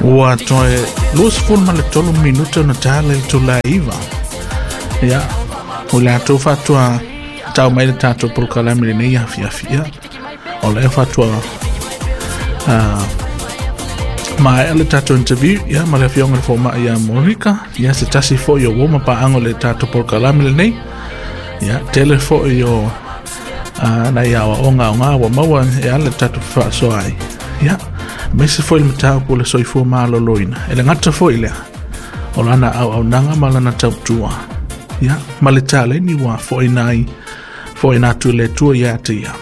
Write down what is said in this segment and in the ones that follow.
Ua toe 23 minuta ona tala i le itula e 9. Ia, o le latou faatoa tau mai le tatou polokalame i lenei afiafi. Ia, o lea faatoa maea le tatou interview ia ma le afioga i le fomai ia Monica, ia se tasi foi o uo ma paaga o le tatou polokalame lenei. Ia, tele foi o nai aoaoga aoga ua maua e ala i le tatou fefaasoa ai. Ia, aemaise foi le mataupu o le soifua maloloina. E le gata foi lea, o lana auaunaga ma lana tautua. Ia, ma le taleni ua foaina ai, foaina atu e le Atua ia te ia.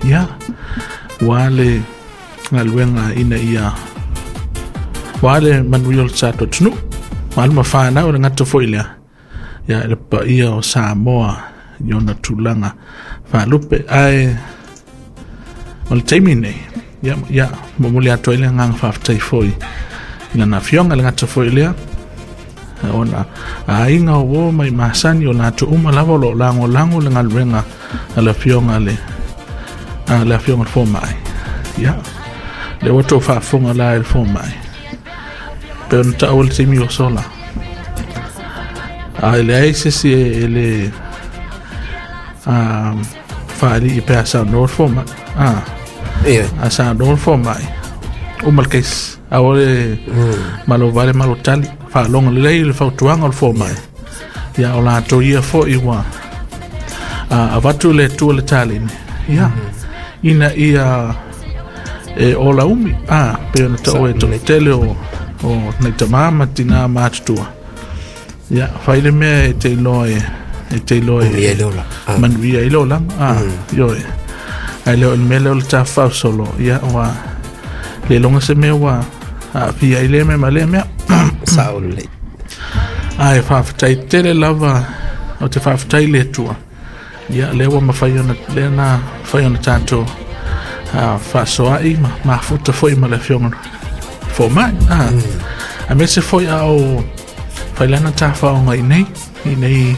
Ia, ua le galuega ina ia ua le manuia o le tatou atunuu. Ma alo ma whanau, e le gata foi lea. Ia, e le paia o Samoa i ona tulaga faalupe. Ae o le taimi nei, ia, ia momoli atu ai le agaga faafetai foi i lana afioga, le gata foi lea, ona aiga o uo mai masani o latou uma lava o lo o lagolago le galuega a le afioga le a le afioga le fomai. Ia, le ua tou faafofoga la i le fomai. Pe ona taua le taimi o sola. A e leai se isi e le faalii pe a saunoa le fomai. A saunoa le fomai, uma le case. Aua le malo vale malo tali. Faalogo lelei le fautuaga o le fomai. Ia, o latou ia foi ua avatu le Atua le taleni. Ia, ina ia e ola umi. Pe ona taua e toatele o nai tama ma tina matutua. Ia, fai le mea e te iloa e te iloa e manuia ai le olaga. Ioe. Ai leo le mea lea o le tafafao solo. Ia, ua le loga se mea ua aafia ai lea mea ma lea mea. Sao lelei. Ae faafetai tele lava o te faafetai le Atua. Ia, lea ua mafai ona lea na mafai ona tatou faasoa'i ma mafuta foi ma le afioga fomai. Aemaise foi a o failana tafaoga i nei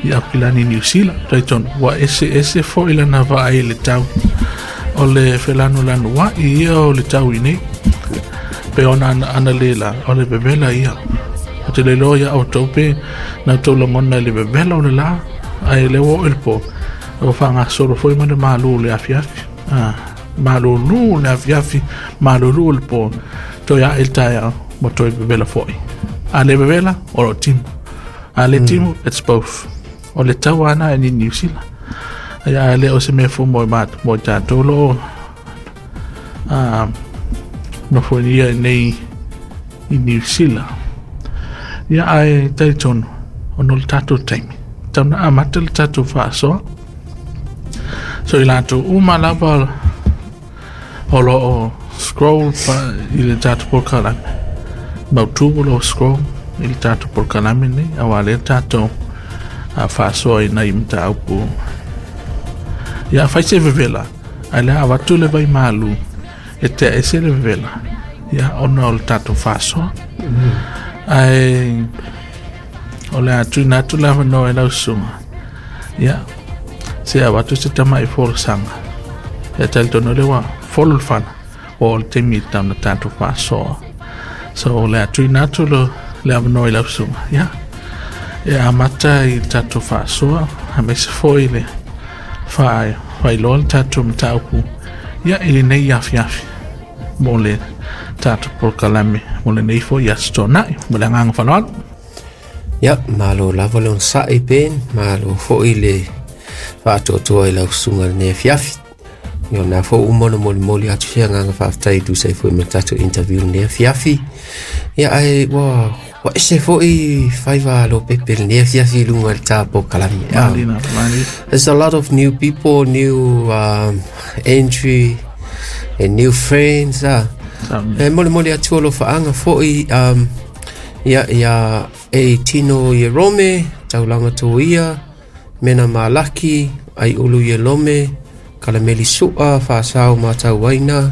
i Aukilani Niu Sila. Talitonu ua ese ese foi lana vaai i le tau o le felanulanua'i ia o le tau i nei. Pe ona ana le la o le vevela ia. O te le iloa ia outou pe na outou lagona i le vevela o le la, ae le ua oo i le po, ua faagasolo foi ma le malu o le afiafi. Malulu le afiafi, malulu le po, toe ae le taeao, ma toe vevela foi. A le vevela, o lo timu. A le timu, it's both. O le tau ana e ni Niu Sila. Ia, le o se mea fou mo i tatou lo nofo ia nei i Niu Sila. Ia, ae talitonu, ona o le tatou taimi. Tau na amata le tatou faasoa. So i latou uma lava o lo o scroll i le tatou polokalame. Mautu o lo o scroll i le tatou polokalame nei, aua lea tatou faasoa i nai mataupu. Ia, fai se vevela, ae le avatu le vai malu e tea ese le vevela. Ia, ona o le tatou faasoa. Ae o le atuina atu le avanoa i lau susuga. Ia, se avatu se tamai folasaga. Ia, talitonu lea ua folo le fana, ua oo le taimi i tau na tatou faasoa. So o le atuina atu le avanoa i lau susuga. Ia, e amata i le tatou faasoa, aemaise foi le faailoa le tatou mataupu. Ia, i lenei afiafi mo le tatou polokalame mo lenei foi aso Toonai. Ma le agaga faaaloalo. Ia, malo lava le onosai Ben, malo foi le faatoatoa i lau susuga lenei afiafi. Ia, o na foi uma ona molimoli atu se agaga faafetai tusa ai foi ma le tatou interview lenei afiafi. Ia, ae ua ese foi faiva a Lopepe lenei afiafi i luga i le ta polokalame. Malina, malina. There's a lot of new people, new entry and new friends. E molimoli atu o alofaanga foi ia, ia e tino i Rome, taulaga toia, mena malaki, ai ulu i Lome, kalameli sua, faasao matauaina,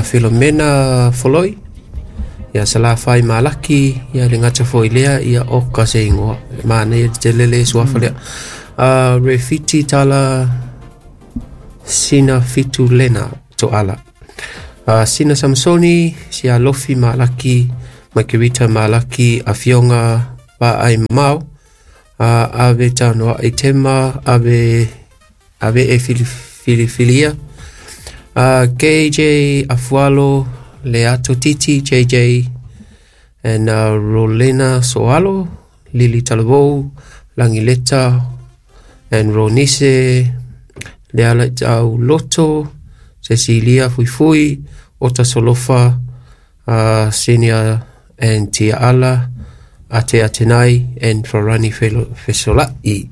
Filomena Foloi, ia salafai malaki, ia le gata foi lea, ia oka se ingoa, mana ia tele le suafa lea. Refiti tala sina fitu lena toala. Sina Samsoni, Sia Lofi Malaki, Margarita Malaki, Afioga Vaai Mau, Ave Tanoa Itema, Ave Ave e Filifilia, KJ Afualo, Leato Titi, JJ, and Rolena Soalo, Lili Talavou, Langileta, and Ronise, Leala Tau Loto, Cecilia Fuifui, Ota Solofa, Senior and Tia Ala, Ate Atenai, and Farani Fesola'i.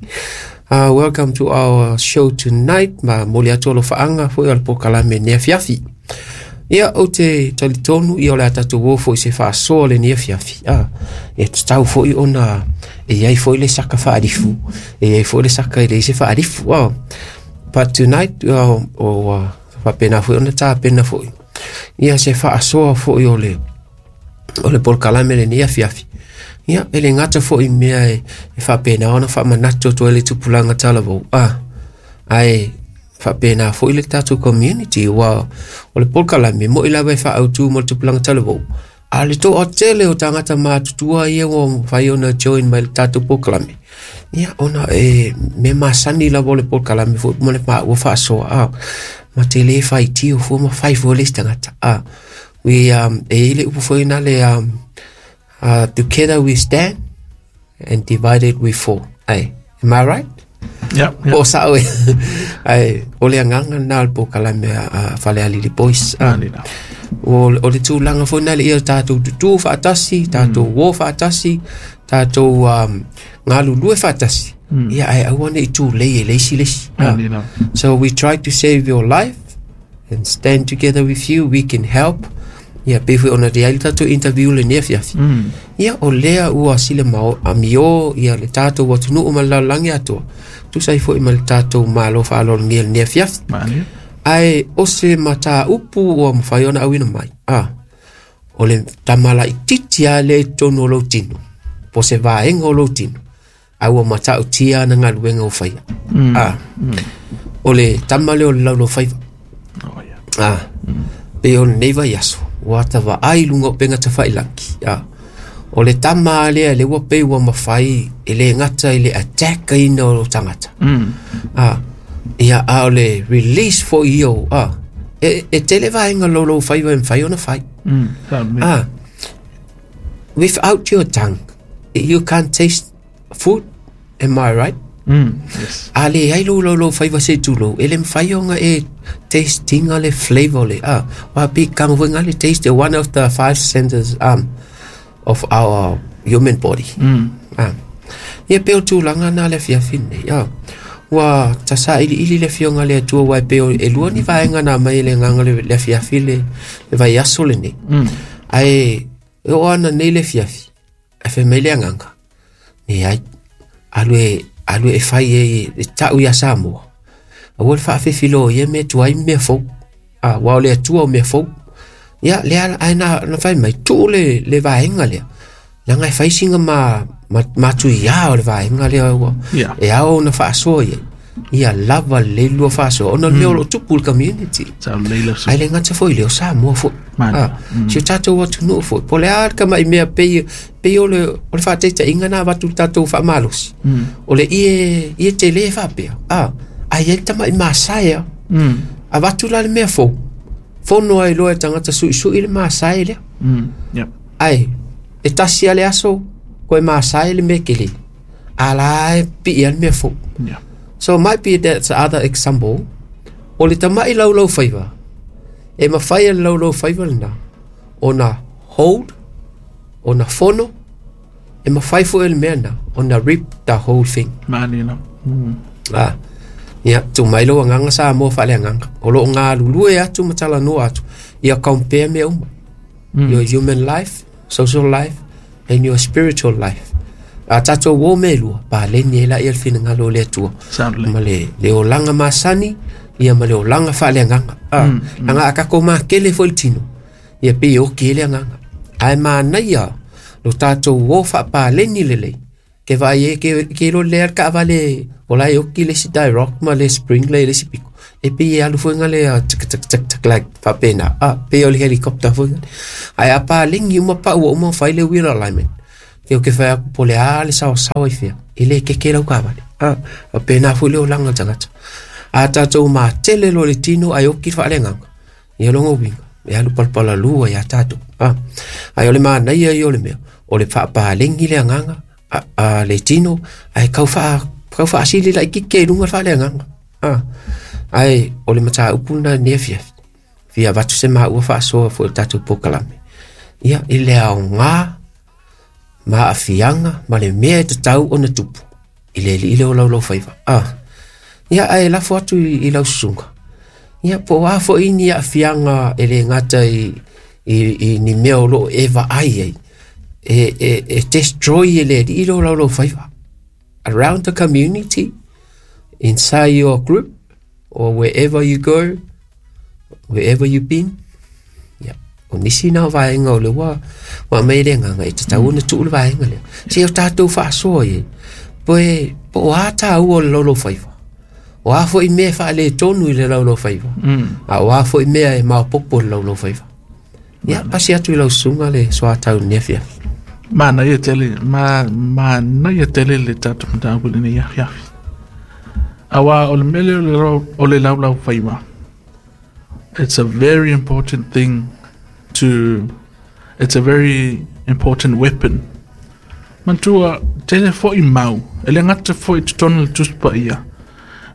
Welcome to our show tonight. Ma moli atu alofaanga foi o le pokalame nei afiafi. Ia o te talitonu ia o le a tatou o foi se faasoa le nei afiafi. E tatau foi ona e iai foi le saka faalifu. E iai foi le saka e leai se faalifu. But tonight, o faapena foi ona tapena foi ia se faasoa foi o le polokalame le nei afiafi. Ia, e le gata foi mea e faapena ona faamanatu atu ai le tupulaga talavou. Ae faapena foi le tatou community ua o le polokalame mo'i lava e faaautu mo le tupulaga talavou. A le toatele o tagata matutua ia ua mafai ona join mai le tatou polokalame. Ia, ona e mea masani lava o le polokalame foi ma le maua faasoa. Ma te le faitio fua ma fai fua le isi tagata. We e i le upu foi na le together we stand and divided we fall. Ai, am I right? Yeah, yeah. Po sa'o e. Ai, o le agaga lena o le polokalame a Falealili Boys. O le tulaga foi na le ia tatou tutū faatasi, tatou o faatasi, tatou galulue faatasi. Ia, ae aua nei tulei e le isi le isi. So we try to save your life and stand together with you. We can help. Ia, pe foi ona te ai le tatou interview le nei afiafi. Ia, o lea ua sile mao amio, ia le tatou atunuu ma le lalolagi atoa. Tusa ai foi ma le tatou malo faaaloalogia le nei afiafi. Ae o se mataupu ua mafai ona auina mai. O le tamalaititi lava lea i totonu o lou tino, po se vaega o lou tino, a ua matautia ana galuega o faia. O le tama lea o le laulaufaiva. Pe o lenei vaiaso, ua tavaai luga o upega tafailagi. O le tama lea le ua pei ua mafai e le gata i le attack aina o tagata. Ia, a o le release foi ia o, e tele vaega laulaufaiva e mafai ona fai. Without your tongue, you can't taste food. Am I right? Yes. A le ai lou laulaufaiva se tulou, e le mafai ona e tastinga le flavor le. Wa pe kanga foi nga le taste, one of the five senses of our human body. Ia pe o tulaga na le afiafi nei. Ua tasailiili le afioga le Atua uae pei o e lua ni vaega na mai le agaga le afiafi le vaiaso lenei. Ae e oo ana nei le afiafi, ae fai mai le agaga, leai, alu e fai e ta'u ia Samoa. Aua le faafefilo ia mea tuai ma mea fou. Ua o le Atua o mea fou. Ia, lea ae na fai mai, tuu le vaega lea. Leaga e fai siga matuiā o le vaega lea ua e ao ona faasoa iai. Ia lava lelei lua faasoa ona o le mea o loo tupu i le community. Ae le gata foi lea o Samoa foi. Si o tatou atunuu foi. Po o le a le kama'i mea pei o le faataitaiga na avatu le tatou faamalosi. O le ie tele e faapea. Ae iai le tama'i masae a. Avatu la le mea fou. Fono ai loa e tagata suisui le masae lea. Ae, e tasi a le aso, koe masae le mea kele. A la e pii a le mea fou. So might be that's other example. O le tama'i laulaufaiva, e mafai e le laulaufaiva lena, ona hold, ona fono, e mafai foi e le mea na, ona rip the whole thing. Ia, tuu mai lou agaga Samoa faaleagaga. O loo galulue atu ma talanoa atu, ia compare mea uma. Your human life, social life, and your spiritual life. A tatou o mea e lua, paleni ai laia le finagalo o le Atua. Ma le olaga masani, ia ma le olaga faaleagaga. Laga a tatou makele foi le tino, ia pei e oki ai le agaga. Ae manaia lo tatou o faapaleni lelei. Ke vaai e ke iloa lelei lava le kaavale o la e oki le isi die rock ma le spring le i le isi piko. E pei e alu fuainga lea tak tak tak tak like faapena a pei o le helicopter fuainga ae a palegi uma pa'u ua uma fai le wheel alignment ke o ke fai aku po le a le saosaoa i fea e lē keke lau kavale a faapena foi le olaga o le tagata a tatou matele loa le tino ae oki le faaleagaga ia loga uiga e alu palapalalua iā tatou a ae o le manaia ia o le mea o le faapalegi le agaga a le tino ae tau faasili laitiiti ai luga le faaleagaga a ae o le mataupu lena i lenei afiafi fia avatu se maua faasoa foi o le tatou polokalame ia i le aoga ma aafiaga ma le mea e tatau ona tupu i le alii lea o laulaufaiva a ia ae lafo atu i lau susuga ia po o a foi ni aafiaga e le gata i ni mea o loo e vaai ai e destroy e le alii lea o laulaufaiva around the community, inside your group, or wherever you go, wherever you've been. Yeah. O nisi na o vaega o le ua aumai le agaga e tatau ona tuu le vaega lea. Se o tatou faasoa i ai, po o a tāua o le laulaufaiva. O a foi mea e faaletonu i le laulaufaiva. A o a foi mea e maopoopo i le laulaufaiva. Ia, pasi atu i lau susuga le soatau i lenei afiafi. Manaia tele, manaia tele le tatou mataupu i lenei afiafi. Auā o le mea lea o le laulaufaiva, it's a very important thing to, it's a very important weapon. Manatua, tele foi mau, e le gata foi i totonu o le Tusi Paia,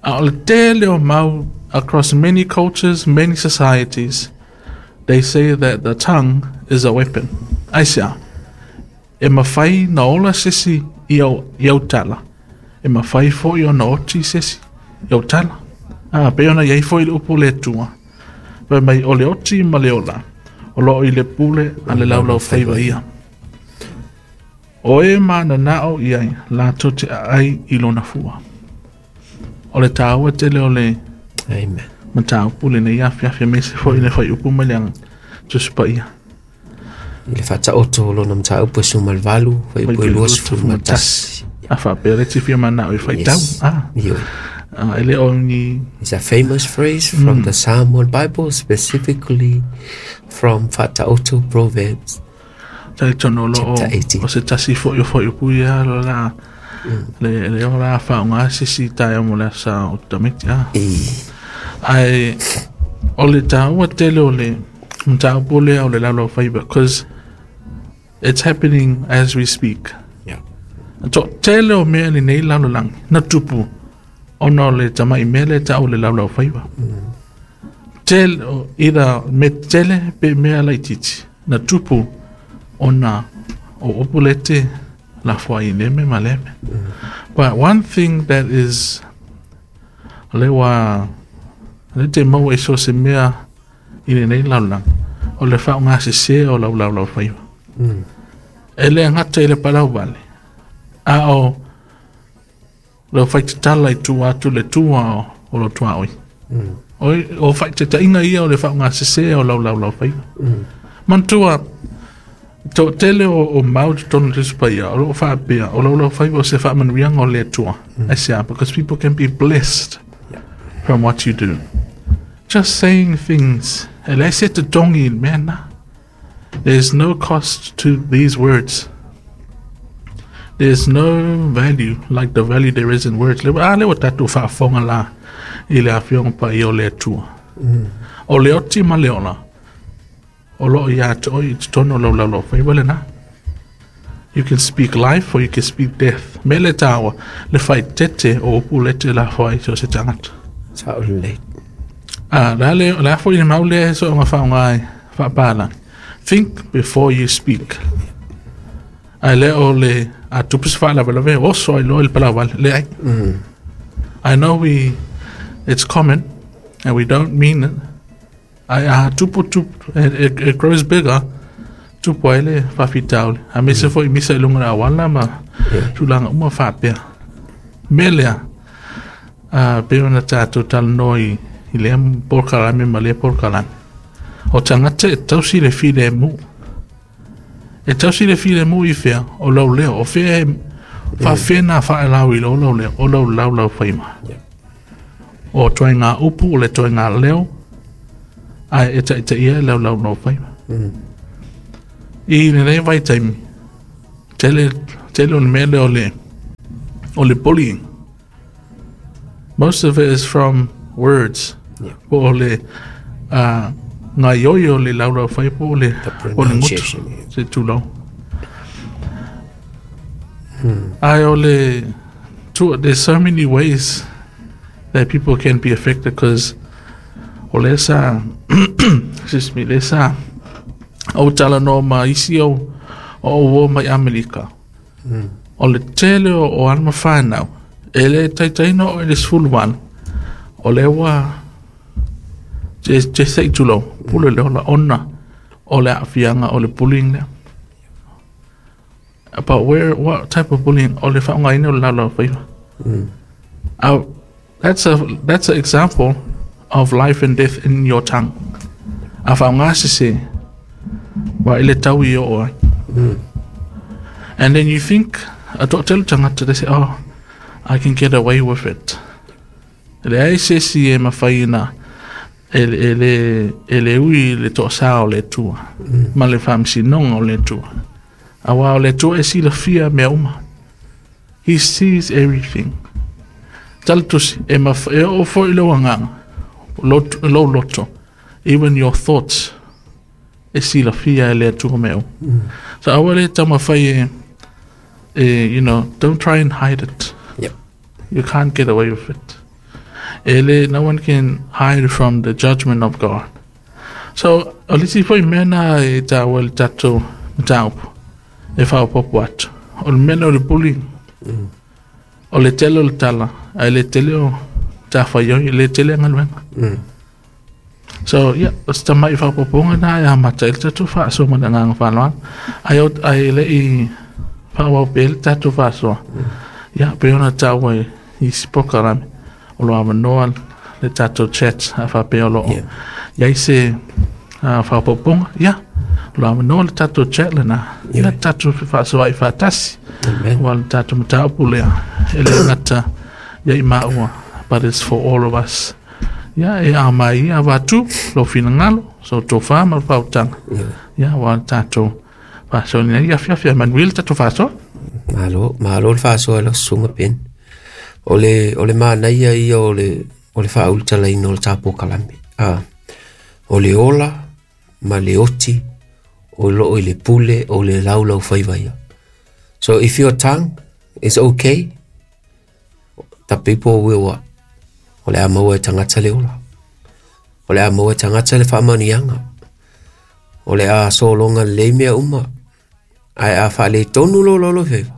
a o le tele o mau across many cultures, many societies, they say that the tongue is a weapon. Aisea? E mafai na ola se isi i au tala, e mafai foi ona oti se isi i au tala. A, pei ona i ai foi le upu a le Atua, fai mai, o le oti ma le ola, o lo o i le pule a le laulaufaiva ia. O e mananao i ai, latou te aai i lona fua. O le taua tele o le Amen. mataupu lenei afiafi, aemaise foi le fuaiupu mai le Tusi Paia. I le faataoto o lona mataupu e 18, fuaiupu e 21. A faapea le tifia manao i faitau. Yes. Ah. Ioe. E le o ni... It's a famous phrase from the Samoan Bible, specifically from Faataoto Proverbs. Talitonu o lo o, Chapter 18. o se tasi foi o fuaiupu ia lo la le o la faaaoga se isi taeao mo le asa o tamiti. Ah. E. Ae o le taua tele o le mataupu lea o le laulaufaiva, because it's happening as we speak. Yeah. To tele o mea lenei lalolagi na tupu ona o le tama'i mea lea e ta'u o le laulaufaiva. Tele o either me tele pe mea laitiiti na tupu ona o upu le te lafo ai i lea mea ma lea mea. But one thing that is le ua le te maua i so o se mea i lenei lalolagi o le faaaogasesē o lau laulaufaiva. E le gata i le palauvale a o le faitatala i tua atu le tua o lo tuaoi. O faitaitaiga ia o le faaaogasesē o lau laulaufaiva. Manatua, toatele o mau i totonu o le Tusi Paia, o lo o faapea, o laulaufaiva o se faamanuiaga o le Atua. Aisea, because people can be blessed from what you do. Just saying things, e leai se totogi i le mea lena. There's no cost to these words. There's no value like the value there is in words. Le, a lea ua tatou faafofoga la i le Afioga Paia o le Atua. O le oti ma le ola, o lo o ia te oe i totonu o lau laulaufaiva lena. You can speak life or you can speak death. Me le tāua, le faaeteete o upu lete lafo ai so o se tagata. Sao lelei. A, la le, la foi le mau lea e soonga faaaoga ai faapalagi. Think before you speak. Ae le o le a tupu se faalavelave, oso ai loa i le palauvale. Leai. I know we, it's common and we don't mean it. Ae a tupu tupu, it grows bigger, tupu ai le faafitauli. Aemaise foi misa i luga o le auala ma tulaga uma faapea. Mea lea, a, pei ona tatou talanoa i lea polokalame ma lea polokalame. O tagata e tausi le filemu. E tausi le filemu i fea, o lau leo, o fea e faafena faelau i lau leo, o lau laulaufaiva. O toi ngā upu, o le toi ngā leo, ai e tai te ia lau lau lau whaiva. I le vai taimi, tele o le mele o le bullying. Most of it is from words. Yeah. Po o le ngā ioi o le lau lau whaiva, po o le ngutu, se tūlau. Ai o le, there's so many ways that people can be affected because o le sa, excuse me, le sa o tala no ma isi o o mai Amerika. O le tele o alma whanau, e le taitaina o le sfuluan, o le wa te seitulo, pule le ola ona o le afianga o le bullying lea. But where, what type of bullying? O le whaongaina o le lau whaiva. That's an example of life and death in your tongue. A whaongasese, wa ile tau i o ai. And then you think, a tō tangata, they say, oh, I can get away with it. Le ai se si e mawhaina, e le ui le tō sā o le tua, ma le whamsinonga o le tua. Awa o le tua e si la fia mea uma. He sees everything. Talatusi, e o fo i le wanganga, lo loto, even your thoughts, e si la fia e le atua mea. So awa le tamawhai e, you know, don't try and hide it. Yep. You can't get away with it. Ele, no one can hide from the judgment of God. So, o lisi foi mena e tā wale tātou mataupu, e whaopopo atu. O le mena o le bullying, o le tele o le tala, a le tele o tā whaioi, le tele ngaluenga. So, yeah, o se tamai whaopoponga nā e amata, ele tātou whaasoa mana nganga whanau. Ai le i whaawau pe ele tātou whaasoa. Yeah, pe ona tāua i sipoka rame, o lo awanoa le tātou chat a whapea o lo o. Iai se whaopoponga, yeah, o lo awanoa le tātou chat le nā. Ia tātou whaasoa i whaatasi. Wa le tātou mataupu lea, e le ngata ia i maua, but it's for all of us. Ia e a mai ia wātu, lo whina ngalo, so tō wha ma whautanga. Ia wa le tātou whaasoa ni ia whiawhia manuel tātou whaasoa. Malo, malo le whaasoa la sunga pen. O le mānaia ia o le whaultalaina o le tāpō kalame. O le ola ma le oti o loo i le pule o le laulau whaivaia. So if your tongue is okay, the people will what? O le a maua e tangata le ola. O le a maua e tangata le whaamanianga. O le a solonga le mea uma. Ai a whaale tonu lo lolo whaiva.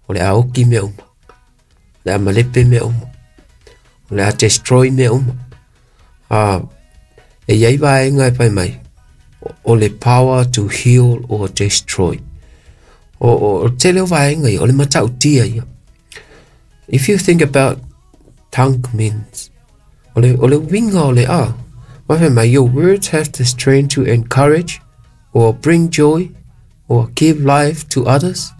O le a oki mea uma. O le a malepe mea uma. O le a destroy mea uma. E iai vaenga e pai mai. O le power to heal or destroy. O te leo vaenga ia, o le matautia ia. If you think about tongue means, o le winga o le a. Wawhe mai, your words have the strength to encourage or bring joy or give life to others,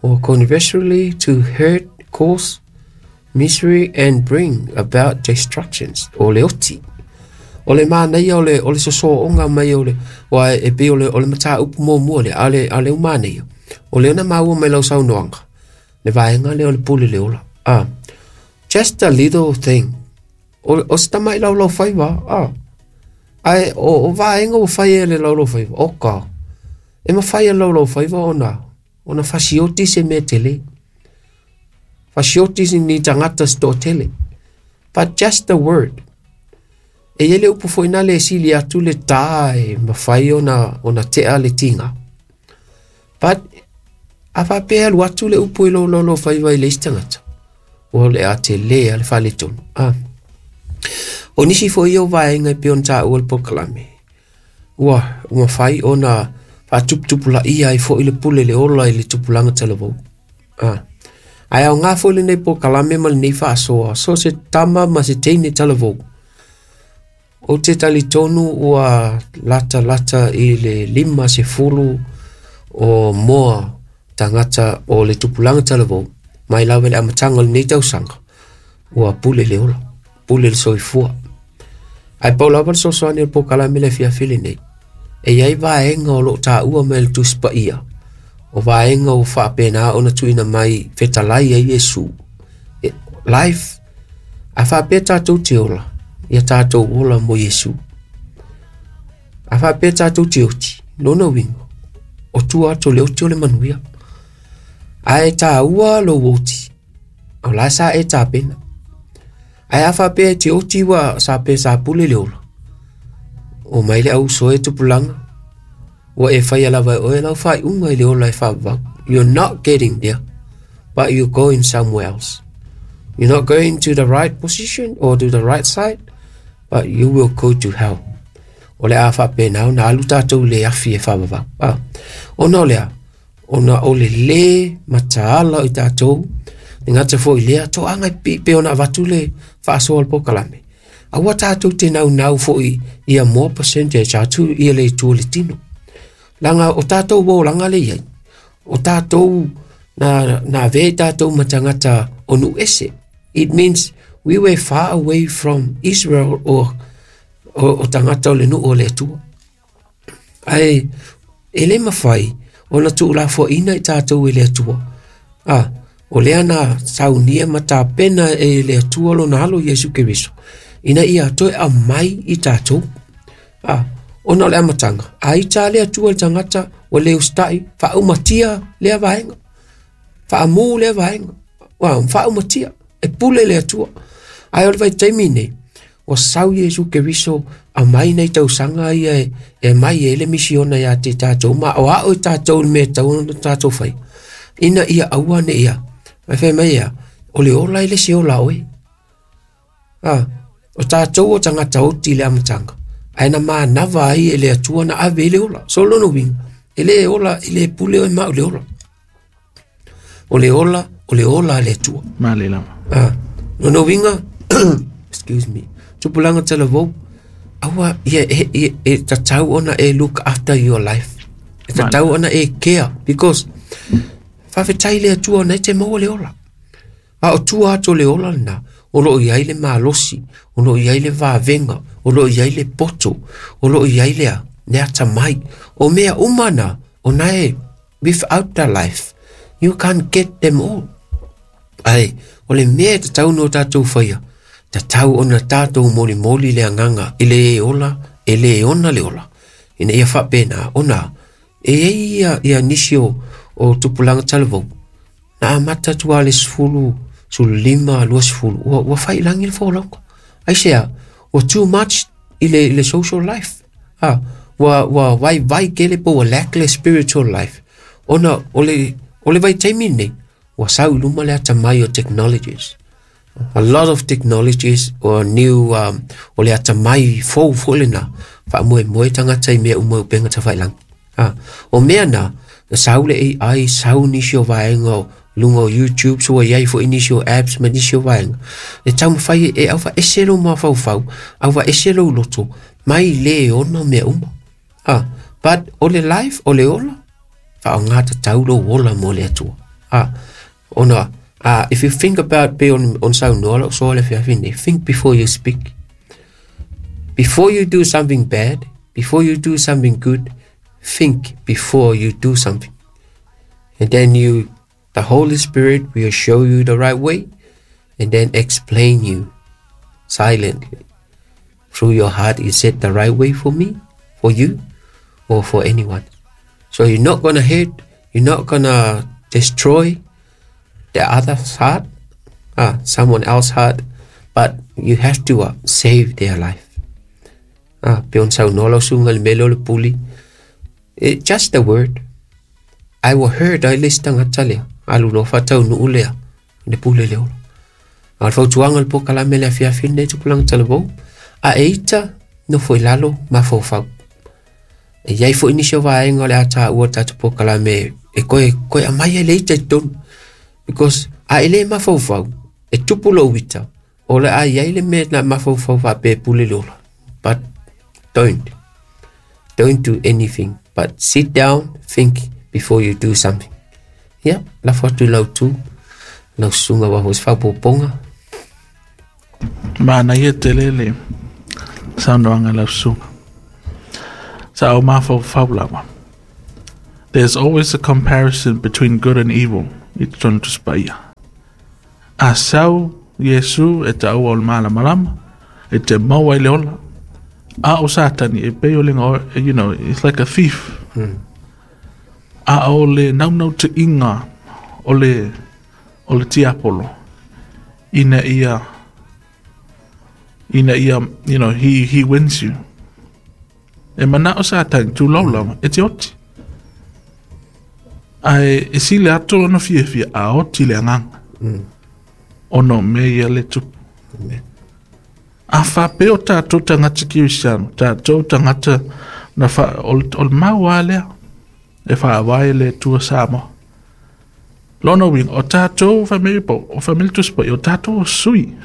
or conversely to hurt, cause misery and bring about destructions. O le oti. O le māneia o le sosoonga mai o le wa e pe o le mata upu mō mua le a le umāneia. O le ona maua mai lau saunoanga. Le vaenga le o le pule le ola. Just a little thing. O se tamai lau lau whaiva. Ai o vaenga o whai e le lau lau whaiva. O ka. E ma whai e lau lau whaiva ona fasioti se mea tele. Fasioti se ni tangata se tō tele. But just the word. E ele upu foina le sili atu le tā e mawhai ona tea le tinga. But a whapea lu atu le upu i lo lo lo whaiva i le istangata. O le a te le a le whale tonu. O nisi fo i o vaenga i peon tā ua le pokalame. Ua mawhai ona whaatuputupula ia i fo i le pule le ola i le tupulanga talavou. Ai au ngā fo i le nei pokalame ma le nei whaasoa. So se tama ma se teine talavou. O te tali tonu ua lata lata i le lima se fulu o moa tangata o le tupulanga talavou. Mai lawe le amatanga le nei tausanga. Ua pule le ola. Pule le soifua. Ae pau lava le fesoasoani o le polokalame le afiafi lenei, e i ai vaega o loo taua mai le Tusi Paia, o vaega ua faapena ona tuuina mai fetalai ai Iesu. Life, a faapea tatou te ola, ia tatou ola mo Iesu. A faapea tatou te oti, lona uiga, o tua atu o le oti o le manuia. Ae taua lou oti, o la sa e tapena. Ae a faapea e te oti ua sa pe sa pule le ola, o mai le au uso e tupulaga, ua e faia lava e oe lau faaiuga i le ola e faavavau. You're not getting there, but you're going somewhere else. You're not going to the right position or to the right side, but you will go to hell. O le a faapena ona alu tatou i le afi e faavavau. Ah, ona o lea, ona o le lē mataala o i tatou, e gata foi i lea toaga e pei ona avatu le faasoa o le polokalame. Aua tatou te naunau foi ia more percentage atu ia le itu o le tino. Leaga o tatou olaga le i ai, o tatou na avea i tatou ma tagata o nuu ese. It means we were far away from Israel o tagata o le nuu o le Atua. Ae e le mafai ona tuulafoaiina i tatou e le Atua. Ah, o lea na saunia ma tapena e le Atua lona alo Iesu Keriso, ina ia toe aumai i tatou. Ah, ona o le amataga, a ita le Atua i le tagata ua le usitai, faaumatia lea vaega, faamu lea vaega, ua faaumatia, e pule le Atua. Ae o le vaitaimi nei, ua sau Iesu Keriso aumai nai tausaga ia e mai ai le misiona ia te tatou, ma o ao i tatou le mea e tatau ona tatou fai, ina ia aua ne i ia, e fai mai ia, o le ola e le se ola oe. Ah, o tatou o tagata oti i le amataga, ae na manava ai e le Atua na ave i le ola. So lona uiga, e le ola, e le pule oe ma o le ola. O le ola, o le ola a le Atua. Male lava. Ah, lona uiga, excuse me, tupulaga talavou, aua ia e tatau ona e look after your life. E tatau ona e care, because faafetai le Atua ona e te maua le ola. A o tua atu o le ola lena, o loo i ai le malosi, o loo i ai le vavega, o loo i ai le poto, o loo i ai le le atamai. O mea uma na, o na e, without the life, you can't get them all. Ae, o le mea e tatau ona tatou faia, tatau ona tatou molimoli le agaga i le ola, e le ona le ola. Ina ia faapena, ona e i ai ia nisi o tupulaga talavou, na amata atu lava le 10, 15, 20, ua faiilagi le folauga. Aisea, ua too much i le social life. Ah, ua vaivai tele po ua lack le spiritual life. Ona o le vaitaimi nei, ua sau i luma le atamai o technologies. A lot of technologies or new, o le atamai fou foi lena, faamoemoe tagata i mea uma i upega tafailagi. Ah, o mea na, sau le AI, sau nisi o vaega o luga o YouTube, so ua i ai foi nisi o apps ma nisi o vaega. E taumafai e aufaese lou mafaufau, aufaese lou loto, mai le ona mea uma. Ah, but o le life, o le ola, faaaoga tatau lou ola mo le Atua. Ah, ona, if you think about pe on saunoa lau soa le afiafi nei, think before you speak. Before you do something bad, before you do something good, think before you do something. And then the Holy Spirit will show you the right way and then explain you silently. Through your heart, is it the right way for me, for you, or for anyone? So you're not going to hurt, you're not going to destroy the other's heart, someone else's heart, but you have to save their life. Ah, pe on saunoa lau susuga le mea lea o le puli. Just the word. I will hurt ai le isi tagata lea. Alu loa faataunuu lea, le pule le ola. A o le fautuaga o le polokalame le afiafi lenei tupulaga talavou, a e ita nofo i lalo mafaufau. E i ai foi nisi o vaega o le a taua o le tatou polokalame e koe aumai ai le ita i totonu. Because a e le mafaufau, e tupu lou ita, o le a i ai le mea na mafaufau faapea e pule le ola. But don't. Don't do anything. But sit down, think before you do something. Ia, lafo atu i lau tu, lau susuga ua foi se faaopoopoga. Manaia tele le saunoaga lau susuga. Sa ou mafaufau lava. There's always a comparison between good and evil i totonu Tusi Paia. A sau Iesu e taua o le malamalama, e te maua ai le ola. A o Satani e pei o le it's like a thief. A o le naunautaiga o le tiapolo ina ia he wins you. E mana o Satani tūlau lava, e te oti. Ae e sile atu ona fiafia a oti le agaga. Ona o mea ia le tupu. A faapea o tatou tagata Kirisiano, tatou tagata na o le mau lava lea e faavae le Atua Samoa. Lona uiga, o tatou family po, o family Tusi Paia, o tatou sui.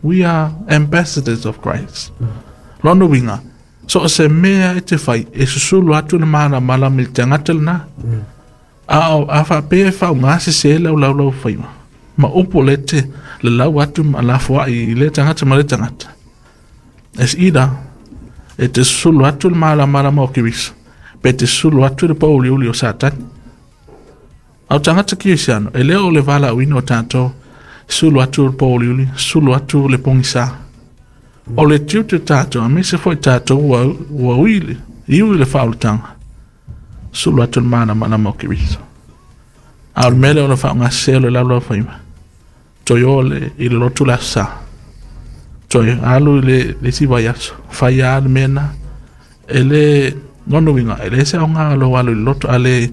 We are ambassadors of Christ. Lona uiga, so o se mea e te fai, e susulu atu le malamalama i le tagata lena. A faapea e faaaogasese lau laulau faiva. Ma upu le te le lau atu ma lafoai i le tagata ma le tagata. Es either e te susulu atu le malamalama o Keriso, pe te susulu atu le pouliuli o Satani. Au tagata Kirisiano, e leo o le valaauina o tatou, sulu atu le pouliuli, sulu atu le pogisa. O le tiute tatou, aemaise foi tatou ua ui iu i le faaolataga, sulu atu le malamalama o Keriso. A o le mea lea o le faaaogasese o le laulau faiva, toe o i le lotu le aso Sa, toe alu i le isi vaiaso, fai lava le mea na. E le lona uiga, e le se aoga o lou alu i le lotu, a le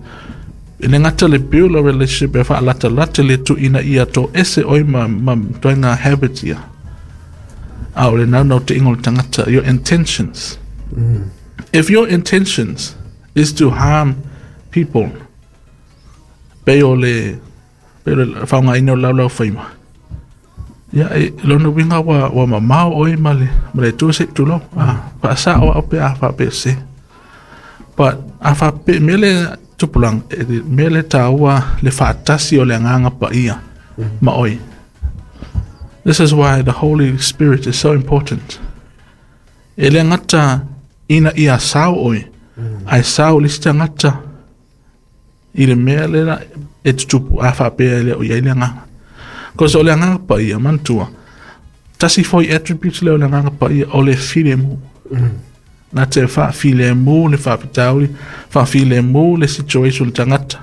e le gata le build a relationship e faalatalata le tuuina ia to ese oi ma toega habits ia. A o le naunautaiga o le tagata, your intentions. If your intentions is to harm people, pei o le faaaogaina o le laulau faiva, ia e lona uiga ua mamao oi ma le Atua se i tulou. Faasao au pe a faapea se. But a faapea mea le tupulaga, mea le taua le faatasi o le agaga paia ma oi. This is why the Holy Spirit is so important. E le gata ina ia sao oi, ai sao le isi tagata i le mea lena e tutupu a faapea e le o i ai le agaga. Cause o le agaga paia, manatua, tasi foi attributes lea o le agaga paia o le filemu. Na te faafilemu le faafitauli, faafilemu le situation le tagata.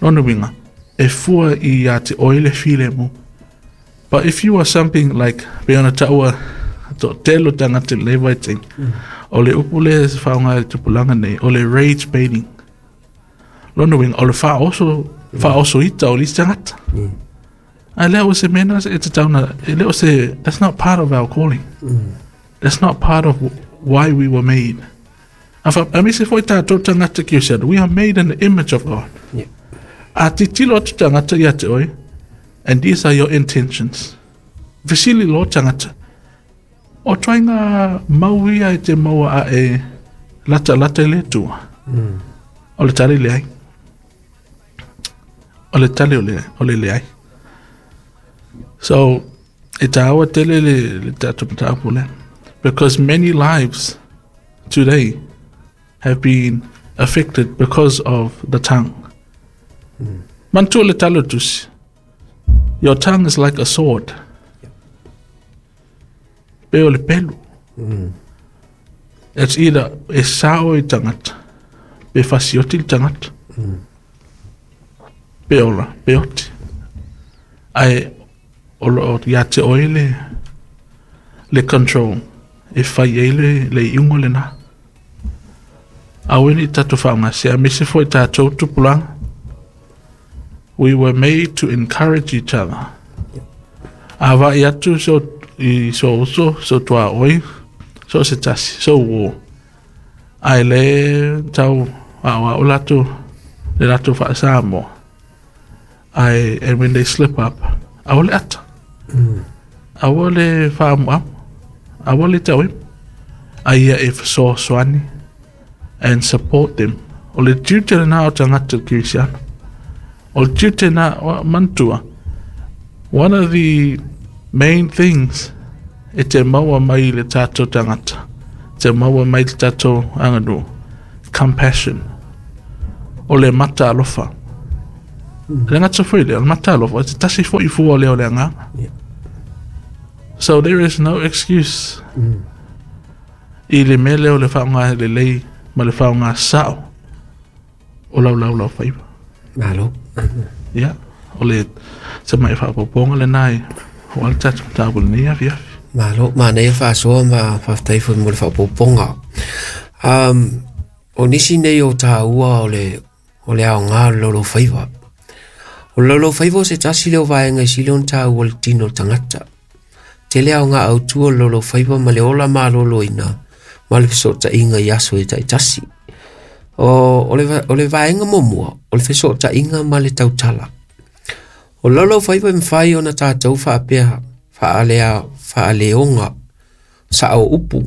Lona uiga, e fua i a te oe le filemu. But if you are something like, pe ona taua toatele o tagata i lenei vaitaimi, o le upu lea e faaaoga i le tupulaga nei, o le rage baiting. Lona uiga, o le faaosoita o le isi tagata. Ae lea ua se mea na e tatau na, e le o se, that's not part of our calling. That's not part of why we were made. Aemaise foi tatou tagata Kirisiano, we are made in the image of God. A titilo atu tagata ia te oe, and these are your intentions. Fesili loa tagata, o ituaiga mau ia e te maua a e latalata i le Atua. O le tali leai. O le tali o le leai. So, e taua tele le tatou mataupu lea. Because many lives today have been affected because of the tongue. Manatua le tali o le Tusi. Your tongue is like a sword. Pe o le pelu. It's either e sao i tagata, pe fasioti le tagata. Pe ola, pe oti. Ae o loo ia te oe le control e fai ai le iuga lena. Aua ne i tatou faaaogasese, aemaise foi tatou tupulaga. We were made to encourage each other. A vaai atu so i so uso, so tuaoi, so se tasi, so uo. Ae le tau aoao latou, le latou faasamoa. Ae, and when they slip up, aua le ata. Aua le faamuamu. Aua le tauemu. A ia e fesoasoani and support them. O le tiute lena o tagata Kirisiano. O le tiute na manatua. One of the main things e te maua mai i le tātou tagata, te maua mai i le tātou aganuu, compassion, o le mata alofa. Le gata foi lea, o le mata alofa, e te tasi foi fua lea o le agaga. Yeah. So there is no excuse i le mea lea o le faaaoga lelei ma le faaaoga sa'o o lau laulaufaiva. Malo. Ia, o le semaʻi faaopoopoga lenā e o le tatou mataupu i lenei afiafi. Malo, manaia faasoa ma faafetai foi mo le faaopoopoga. O nisi nei o tāua o le aoga o le laulaufaiva. O le laulaufaiva o se tasi lea o vaega e sili ona tāua i le tino o le tagata. Tele aoga autu o le laulaufaiva ma le ola maloloina ma le fesootaiga i aso e taitasi. O le vaega muamua, o le fesootaiga ma le tautala. O le laulaufaiva e mafai ona tatou faapea faaleoga sao upu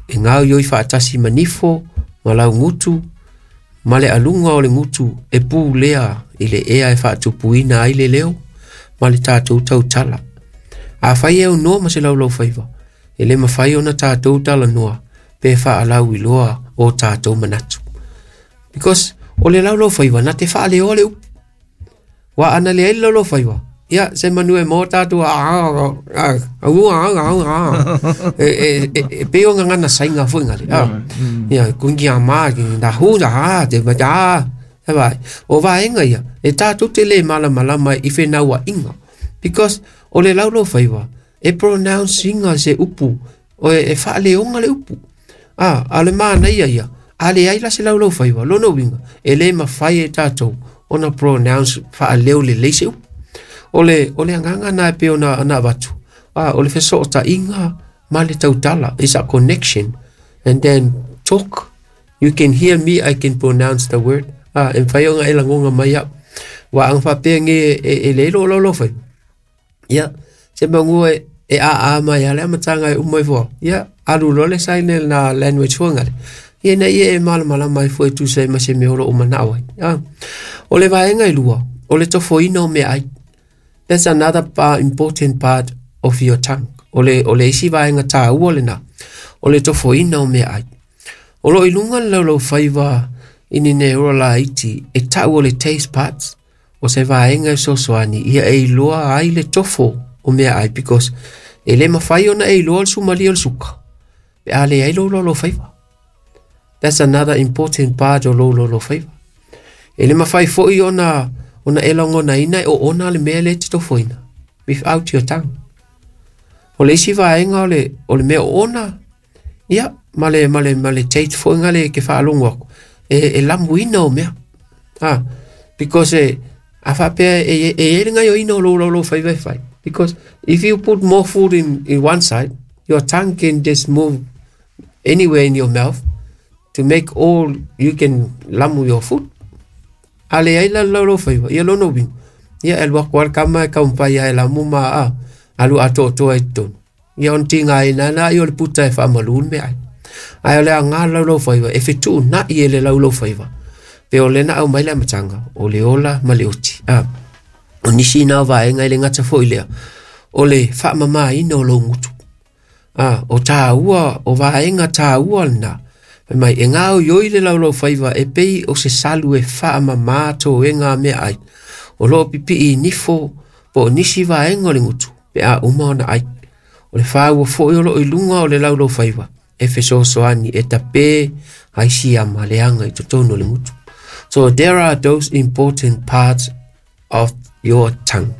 e gaoioi faatasi ma nifo ma laugutu ma le aluga o le gutu e pulea i le ea e faatupuina ai le leo ma le tatou tautala. Afai e aunoa ma se laulaufaiva, e le mafai ona tatou talanoa pe faalauiloa o tatou manatu. Because o le laulaufaiva na te faaleoa le upu. Wa ana le ai le laulaufaiva, ia se manu e mo tātou e pei o ngana sainga foi ngale. Ia kungi a ma ki na hu na ha te ma ta. Vai o vaenga ia e tātou te le malamalama i whenau inga. Because o le laulaufaiva e pronouncinga se upu o e faaleoga le upu. A le manaia ia a le ai la se laulaufaiva lona uiga e le mafai e tātou ona pronounce faaleo lelei se upu. O le agaga na e pei ona avatu. O le fesootaiga ma le tautala is a connection. And then talk. You can hear me, I can pronounce the word. E mafai ona e lagoga mai au. Ua aga faapea ge e leai lou laulaufaiva. Ia, se magua e aa mai a le amataga e uma ai fua. Ia, alu loa le sign na language foi gale. Ia na ia e malamalama ai fua e tusa ai ma se mea o loo manao ai. O le vaega e lua, o le tofoina o meaai. That's another important part of your tongue. O le isi vaega tāua lena, o le tofoina o meaai. O loo i luga le laulaufaiva i ni neura laiti e tau o le taste parts o se vaega e sosoani ia e iloa ai le tofo o meaai, because e le mafai ona e iloa le sumalia o le suka pe a leai lou laulaufaiva. That's another important part o lou laulaufaiva. E le mafai foi ona e lagonaina e oona le mea le te tofoina without your tongue. O le isi vaega o le mea oona, ia, ma le taste foi ngale ke faalogo aku e lamuina o mea. Because a faapea e e le gaioina o lou laulaufaiva e fai. Because if you put more food in one side, your tongue can just move anywhere in your mouth to make all you can lamu your food. A le ai la laulaufaiva, ia lona uiga. Ia e alu atu lava le kama e taumafai ai e lamu ma alu atoatoa i totonu. Ia ona tigaina ai o le puta e faamalu le meaai. Ae o le aoga le laulaufaiva e fetuunai e le laulaufaiva. Pe o lena aumai le amataga, o le ola ma le oti. O nisi na o vaega e le gata foi lea, o le faamamaina o lou gutu. O tāua, o vaega tāua lena. Fai mai, e gaoioi le laulaufaiva e pei o se salu e faamamā toega a meaai. O loo pipii i nifo po o nisi vaega o le gutu, pe a uma ona ai. O le whāua foi o loo i lunga o le laulaufaiva, e fesoasoani e tapē ai siama leaga i totonu o le gutu. So there are those important parts of your tongue.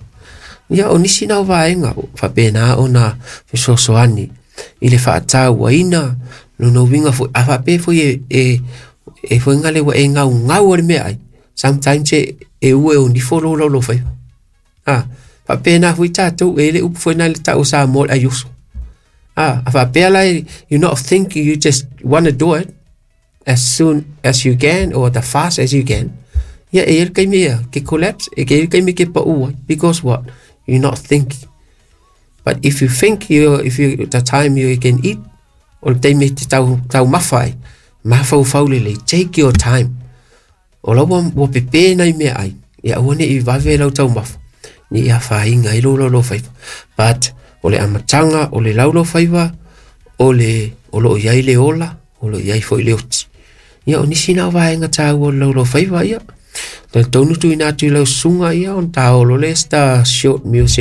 Ia o nisi nau vaega, faapena ona fesoasoani i le faatauaina lona uiga foi, a faapea foi e foi ngale ua e gaugau o le meaai. Sometimes e ua e o nifo lou laulaufaiva. Faapena foi tatou e le upu foi na le tau Samoa le aiuso. A faapea la, you not thinking, you just wanna do it as soon as you can or the fast as you can. Ia e ele kaimi ia, ke collapse, e ke ele kaimi ke paua, because what? You're not thinking. But if you think, if you, the time you can eat, o le taimi te tau mawhai, mawhau lele, take your time. O lau ua pepe nai mea ai, ia ua ne i vave lau tau mawha, ni ia whainga i lou laulaufaiva. But O le amataga o le laulau faiva o le o loo i ai le ola, o loo i ai foi le oti. Ia o nisi na o vaega taua o le laulau faiva. Ia talitonu tuuina atu i lau susuga ia ona taolo lea star short music.